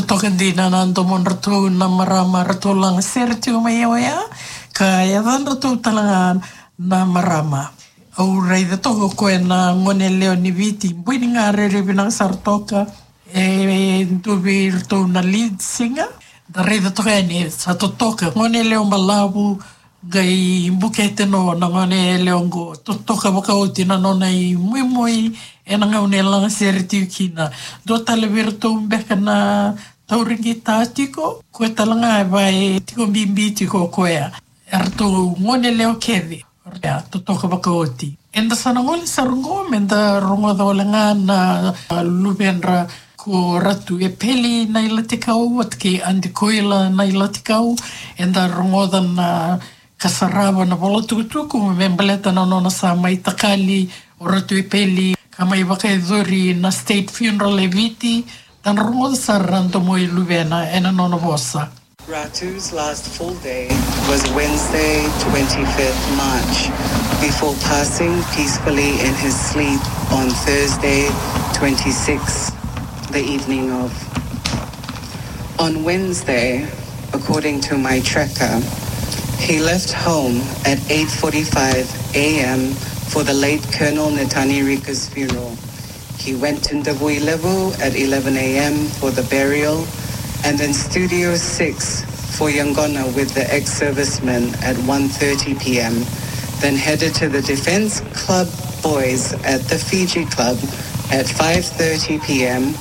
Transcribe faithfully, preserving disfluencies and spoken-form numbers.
Toka dina na domodratou na marama ratou laga sere tiko mai oya, ka yacadratou tale ga na marama. Au raica toka o koya na gone yalewa ni Viti, bui ni ga rairai vinaka sara toka, e dua vei iratou na lead singer. Da raica toka yani sa totoka, gone yalewa balavu, qai bukete no na gone yalewa qo, totoka vakaoti na nona imuimui ena gauna e laga sere tiko kina. Dua tale vei iratou beka na tauri qita tiko, koya tale ga e vaka e tiko bibi tiko o koya. Eratou gone yalewa kece, ia, totoka vakaoti. Eda sa na gole sara qo meda rogoca wale ga na, a, luvedra ko Ratu Epeli Nailatikau vata kei Adi Koila Nailatikau. Eda rogoca na ka sarava na vola tukutuku me baleta na nona sa mai takali o Ratu Epeli ka mai vakayacori na state funeral e Viti. Da na rogoca sara na domo i luvena ena nona vosa. Ratu's last full day was Wednesday, twenty-fifth March, before passing peacefully in his sleep on Thursday, twenty-sixth, the evening of. On Wednesday, according to my tracker, he left home at eight forty-five a m for the late Colonel Netani Rika's funeral. He went to Davui Levu at eleven a m for the burial, and then Studio six for Yangona with the ex-servicemen at one thirty p m, then headed to the Defence Club Boys at the Fiji Club at five thirty p m,